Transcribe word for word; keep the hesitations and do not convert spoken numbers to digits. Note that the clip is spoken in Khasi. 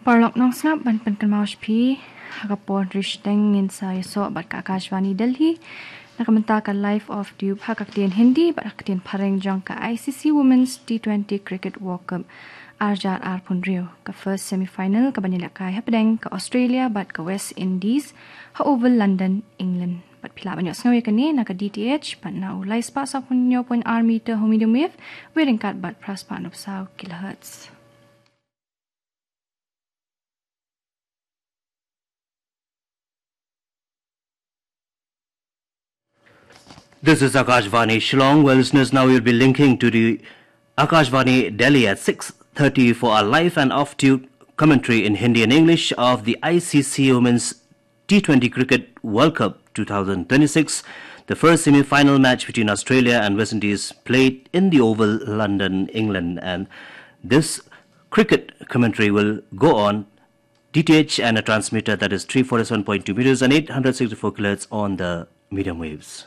Paralok nongsngap, ban pynkynmaw sha phi ha ka por hynriew shiteng ngin sa ïasoh bad ka Akashvani Delhi na ka bynta ka Live Off Tube ha ka ktien Hindi bad ha ka ktien Phareng jong ka I C C Women's T twenty Cricket World Cup ar hajar arphew hynriew. Ka first semi-final ka ban ïalehkai hapdeng ka Australia bad ka West Indies ha Oval, London, England. Bad phi lah ban ïohsngew ïa kane na ka D T H bad na u lai spah sawphew hynñiew point ar meter ha u medium wave, ryngkat bad phra spah hynñiew phew saw kilohertz. This is Akashvani Shillong. Well, listeners, now we'll be linking to the Akashvani Delhi at six thirty for our live and off-tube commentary in Hindi and English of the I C C Women's T twenty Cricket World Cup two thousand twenty-six. The first semi-final match between Australia and West Indies played in the Oval, London, England. And this cricket commentary will go on D T H and a transmitter that is three forty-seven point two meters and eight hundred sixty-four kilohertz on the medium waves.